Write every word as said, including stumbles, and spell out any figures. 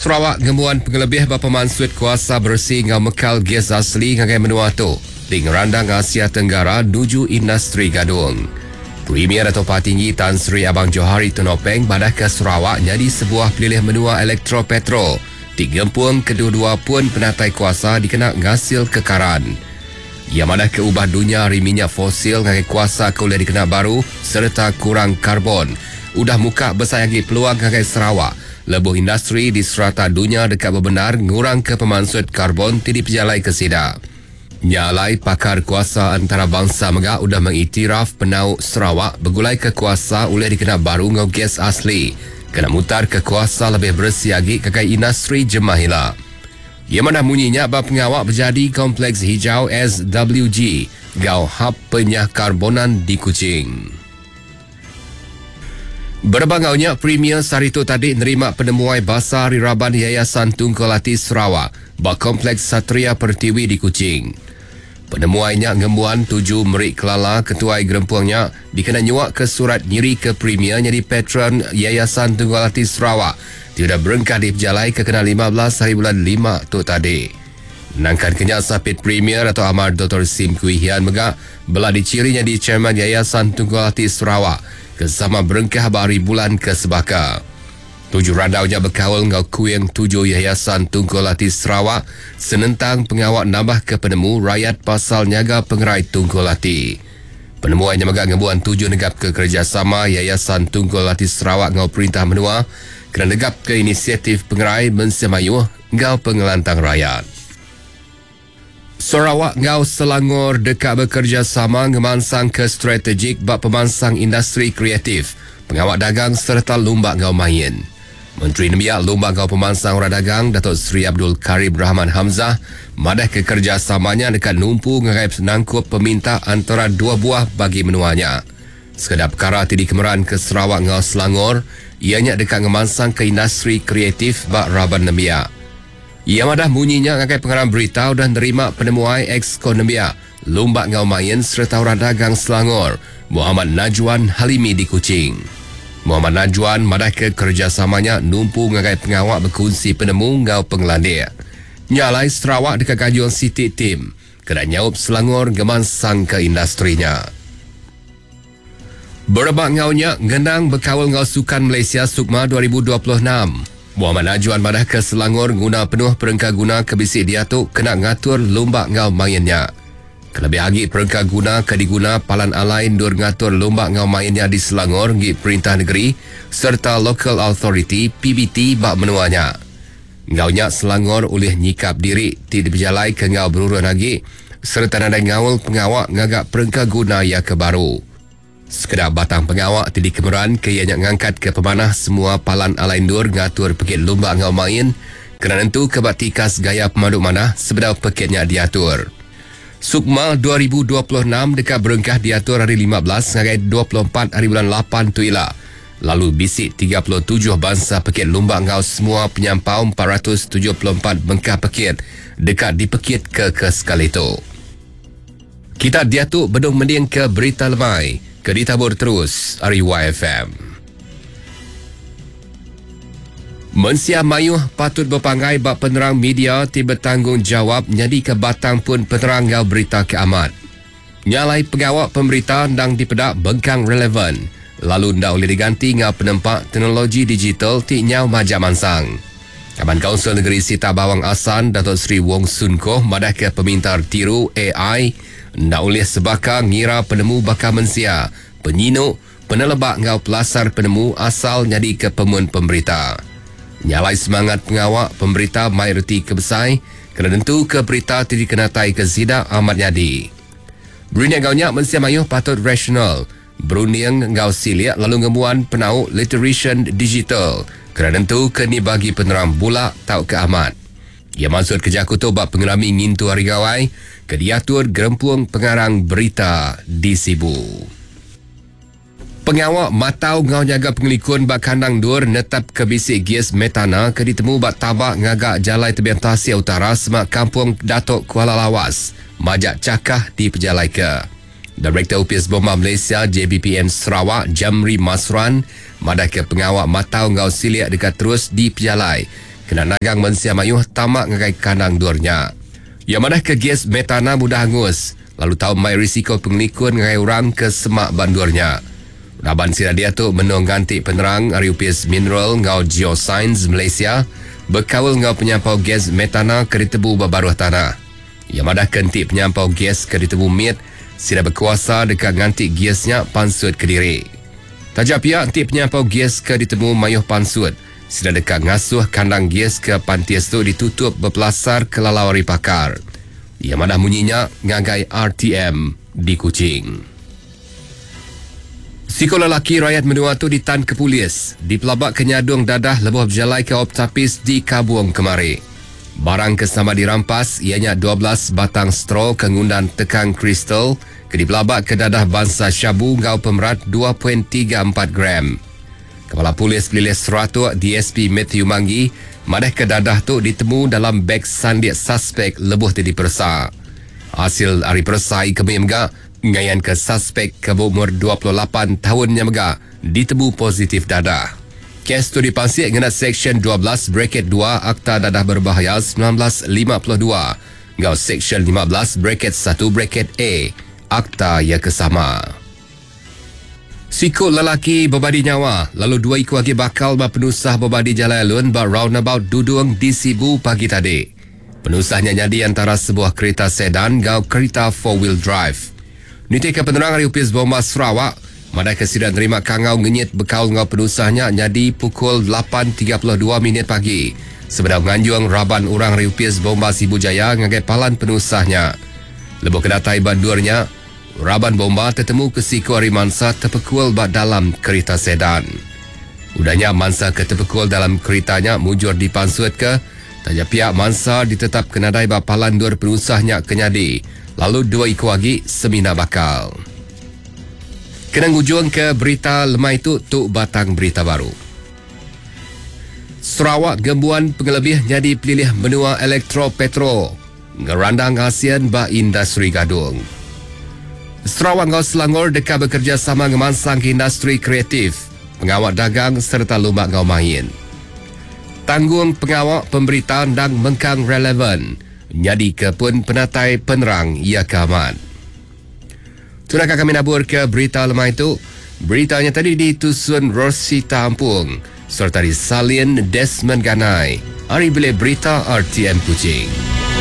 Sarawak ngembuan pengelebih ba pemansut kuasa bersih ngau mekal gas asli ngagai menua tu di ngerandang Asia Tenggara nuju industri gadung. Premier Dato' Patinggi Tan Sri Abang Johari Tun Openg madah ke Sarawak jadi sebuah pelilih menua elektropetro digempung kedua-dua pun penatai kuasa dikena ngasil kekaran. Ia madah ke ubah dunia hari minyak fosil ngagai kuasa ke boleh dikena baru serta kurang karbon. Udah muka besai lagi peluang ngagai Sarawak. Lebuh industri di serata dunia dekat berbenar ngurang ke pemansut karbon ti dipejalai ke sida. Nyalai pakar kuasa antarabangsa megak udah mengiktiraf penau Sarawak bergulai ke kuasa oleh dikena baru ngau gas asli. Kena mutar ke kuasa lebih bersih lagi ke industri jemahila. Ia mana bunyinya bab pengawak berjadi Kompleks Hijau S W G gau hub penyahkarbonan di Kuching. Berbangaunya Premier Sarito tadi nerima penemuai basah di Raban Yayasan Tungkul Ati Sarawak bak Kompleks Satria Pertiwi di Kuching. Penemuainya ngembuan tuju merik kelala ketuai gerempuangnya dikena nyuak ke surat nyiri ke Premier jadi patron Yayasan Tungkul Ati Sarawak. Tidak berengkah di pejalai ke kena lima belas hari bulan lima tu tadi. Nangkan kenyak sapit Premier atau Amar Doktor Sim Kui Hian megak belah dicirinya di Chairman Yayasan Tungkul Ati Sarawak kesama berengkah bari bulan ke sebaka. Tujuh randaunya berkawal ngau kuing tujuh Yayasan Tungkul Ati Sarawak senentang pengawak nambah ke penemu rakyat pasal nyaga pengerai Tungkul Ati. Penemuannya megak ngebuan tujuh negap ke kerjasama Yayasan Tungkul Ati Sarawak ngau Perintah Menua kena negap ke inisiatif pengerai mensemayuh ngau pengelantang rakyat. Sarawak ngau Selangor dekat bekerjasama ngemansang ke strategik bab pemansang industri kreatif, pengawak dagang serta lumbak ngau main. Menteri Nembiak Lumbak Ngau Pemansang Orang Dagang Datuk Seri Abdul Karim Rahman Hamzah madah ke kerjasamanya dekat numpu ngagai nangkup peminta antara dua buah bagi menuanya. Sekedar perkara ti dikemeran ke Sarawak ngau Selangor, ianya dekat ngemansang ke industri kreatif bak raban nembiak. Ia madah bunyinya ngagai pengarang berita dan nerima penemuai ex-kon nembiak Lumbak Ngau Main serta orang dagang Selangor Muhammad Najwan Halimi di Kuching. Muhammad Najwan madah ke kerjasamanya numpu ngagai pengawak berkongsi penemu ngau pengelandik. Nyalai Sarawak dekat Gajung City Team kena nyaup Selangor gemansang ke industrinya. Berebak ngaunya ngenang berkawal ngau Sukan Malaysia Sukma dua ribu dua puluh enam. Muhammad Najwan madah ke Selangor guna penuh perengka guna ke bisik dia tu kena ngatur lumbak ngau mainnya. Kelebih lagi perengka guna ke diguna palan alai ndur ngatur lumbak ngau mainnya di Selangor ngi Perintah Negeri serta Local Authority P B T bak menuanya. Ngaunya Selangor oleh nyikap diri ti dipejalai ke ngau berurun lagi serta nadai ngaul pengawak ngagak perengka guna ya ke baru. Sekedar batang pengawak ti dikemeran ke ianya ngangkat ke pemanah semua palan alai ndur ngatur pekit lumbak ngau main kena nentu ke bak tikas gaya pemaduk manah sebedau pekitnya diatur. Sukma dua ribu dua puluh enam dekat berengkah diatur hari lima belas ngagai dua puluh empat hari bulan lapan tu ila. Lalu bisik tiga puluh tujuh bangsa pekit lumbak ngau semua penyampau empat ratus tujuh puluh empat bengkah pekit dekat dipekit ke ke sekali tu. Kita diatur bedung mending ke berita lemai ke ditabur terus hari Y F M. Mensia mayuh patut berpanggai bak penerang media ti bertanggungjawab nyadi ke batang pun penerang ngau berita keamat. Nyalai pengawak pemberita ndang dipedak bengkang relevan, lalu ndak boleh diganti ngau penempak teknologi digital ti nyau majak mansang. Kaban Kaunsil Negeri Sita Bawang Asan Datuk Seri Wong Soon Koh madah ke pemintar tiru A I ndak boleh sebaka ngira penemu bakal mensia, penyinuk, penelebak ngau pelasar penemu asal nyadi ke pemun pemberita. Nyalai semangat pengawak pemberita mai reti kebesai kena tentu ke berita ti dikenatai ke zida amat nyadi. Berunding ngau nyak mensia mayuh patut rasional, berunding ngau siliak lalu ngemuan penau literation digital kena tentu ke ni bagi penerang bulak tau ke amat. Ia maksud kerja aku tu bab pengelami ngintu hari gawai ke diatur gerempuang pengarang berita di Sibu. Pengawak matau ngau jaga pengelikun bak kandang dur netap ke bisik gas metana ke ditemu bak tabak ngagak jalai tebian Tasik Utara semak kampung Datuk Kuala Lawas. Majak cakah di pejalai ke. Direktur U P S Bomba Malaysia J B P M Sarawak Jamri Masran madah ke pengawak matau ngau siliak dekat terus di pejalai. Kena nagang mensia mayuh tamak ngagai kandang durnya. Yang mana ke gas metana mudah hangus, lalu tau mai risiko pengelikun ngagai orang ke semak bandurnya. Raban sida dia tu menung ganti penerang ari Upis Mineral ngau Geoscience Malaysia berkawal ngau penyampau gas metana ke ditebu berbaruh tanah. Yang madah kentik penyampau gas ke ditebu mit, sida berkuasa dekat nganti gasnya pansut ke diri. Tajak pihak entik penyampau gas ke ditemu mayuh pansut, sida dekat ngasuh kandang gas ke pantis tu ditutup berpelasar ke lalau ari pakar. Yang madah munyinya ngagai R T M di Kuching. Siko lelaki rakyat menua tu ditan ke polis di pelabak kenyadung dadah lebuh berjalai ke Optapis di Kabuang kemari. Barang ke sama dirampas ianya dua belas batang straw ke ngundan tekang kristal ke dipelabak ke dadah bangsa syabu ngau pemerat dua perpuluhan tiga empat gram. Kepala Polis Pelilih Seratuk D S P Matthew Manggi madah ke dadah tu ditemu dalam beg sandik suspek lebuh ti diperesa. Hasil ari persai kemi mega ngayan ke suspek ke berumur dua puluh lapan tahunnya mega ditemu positif dadah. Kes tu dipansik ngena Seksyen dua belas bracket dua Akta Dadah Berbahaya sembilan belas lima puluh dua ngau Seksyen lima belas bracket satu bracket A Akta yang kesama. Siku lelaki berbadi nyawa lalu dua iku lagi bakal berpenusah berbadi jalan alun ba roundabout Dudung di Sibu pagi tadi. Penusahnya jadi antara sebuah kereta sedan ngau kereta four wheel drive. Nitik ke penerang hari Upis Bomba Sarawak, madai kesidan terima kangau ngenyit bekal ngau penusahnya jadi pukul lapan tiga puluh dua minit pagi. Sebenar nganjuang raban orang hari Upis Bomba Sibu Jaya ngagai palan penusahnya. Lebuh kedatai bandurnya, raban bomba tetemu ke siku hari mansa terpekul bak dalam kereta sedan. Udahnya mansa ke terpekul dalam keretanya mujur dipansut ke, tanya pihak mansa ditetap kenadai bak palan dur penusahnya kenyadi. Lalu dua iku lagi semina bakal. Kena ngujung ke berita lemai tu, tu batang berita baru. Sarawak gembuan pengelebih jadi pelilih menua elektro-petro. Ngerandang ASEAN ba industri gadung. Sarawak ngau Selangor dekat bekerjasama ngemansang ke industri kreatif, pengawal dagang serta lumak ngau main. Tanggung pengawal pemberitaan dan mengkang relevan. Jadi ke pun penatai penerang ia keaman. Itulah kami nabur ke berita lemai itu. Beritanya tadi ditusun Rosita Ampung serta disalin Desmond Ganai. Hari bilik berita R T M Kuching.